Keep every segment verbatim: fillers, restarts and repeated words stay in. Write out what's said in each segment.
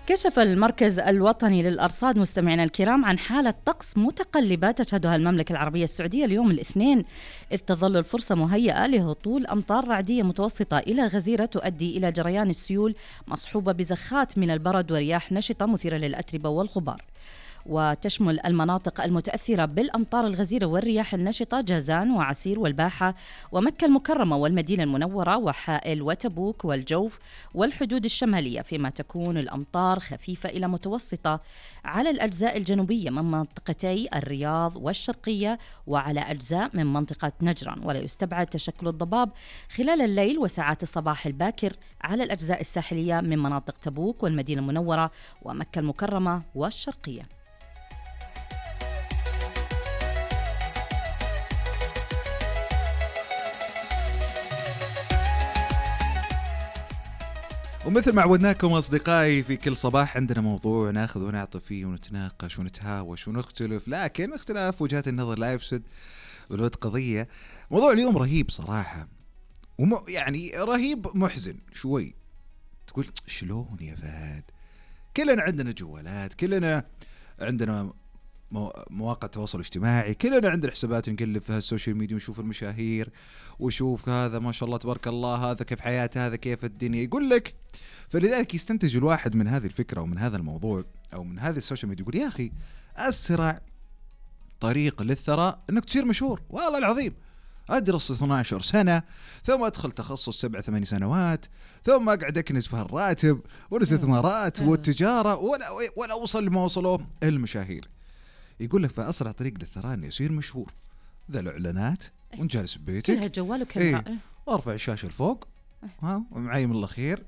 كشف المركز الوطني للأرصاد مستمعينا الكرام عن حالة طقس متقلبة تشهدها المملكة العربية السعودية اليوم الاثنين، إذ تظل الفرصة مهيئة لهطول أمطار رعدية متوسطة إلى غزيرة تؤدي إلى جريان السيول مصحوبة بزخات من البرد ورياح نشطة مثيرة للأتربة والغبار. وتشمل المناطق المتأثرة بالأمطار الغزيرة والرياح النشطة جازان وعسير والباحة ومكة المكرمة والمدينة المنورة وحائل وتبوك والجوف والحدود الشمالية، فيما تكون الأمطار خفيفة إلى متوسطة على الأجزاء الجنوبية من منطقتي الرياض والشرقية وعلى أجزاء من منطقة نجران. ولا يستبعد تشكل الضباب خلال الليل وساعات الصباح الباكر على الأجزاء الساحلية من مناطق تبوك والمدينة المنورة ومكة المكرمة والشرقية. ومثل ما عودناكم أصدقائي في كل صباح عندنا موضوع ناخذ ونعطي فيه ونتناقش ونتهاوش ونختلف، لكن اختلاف وجهات النظر لا يفسد ولود قضية. موضوع اليوم رهيب صراحة، وم يعني رهيب محزن شوي. تقول شلون يا فهد؟ كلنا عندنا جوالات، كلنا عندنا مواقع التواصل الاجتماعي، كلنا عندنا حسابات نقلب فيها السوشيال ميديا ونشوف المشاهير وشوف هذا ما شاء الله تبارك الله، هذا كيف حياته، هذا كيف الدنيا، يقول لك. فلذلك يستنتج الواحد من هذه الفكرة ومن هذا الموضوع أو من هذه السوشيال ميديا، يقول يا أخي أسرع طريق للثراء أنك تصير مشهور. والله العظيم أدرس اثنتي عشرة سنة ثم أدخل تخصص سبع ثماني سنوات ثم أقعد أكنس في الراتب والاستثمارات والتجارة ولا, ولا أوصل لما وصلوا المشاهير. يقول لك فأسرع طريق للثراء أنه يصير مشهور. ذا الإعلانات وانت جالس ببيتك كلها جوال وكاميرا ايه وارفع الشاشة لفوق ها ومعاي من الأخير.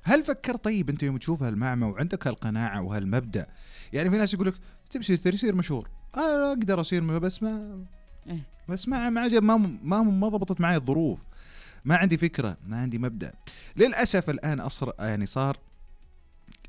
هل فكر طيب أنت يوم تشوف هالمعمة وعندك هالقناعة وهالمبدأ؟ يعني في ناس يقول لك تبي تصير مشهور، أنا أقدر أصير بس ما بس ما ما عجب ما ما ما ضبطت معي الظروف، ما عندي فكرة، ما عندي مبدأ. للأسف الآن أصر يعني صار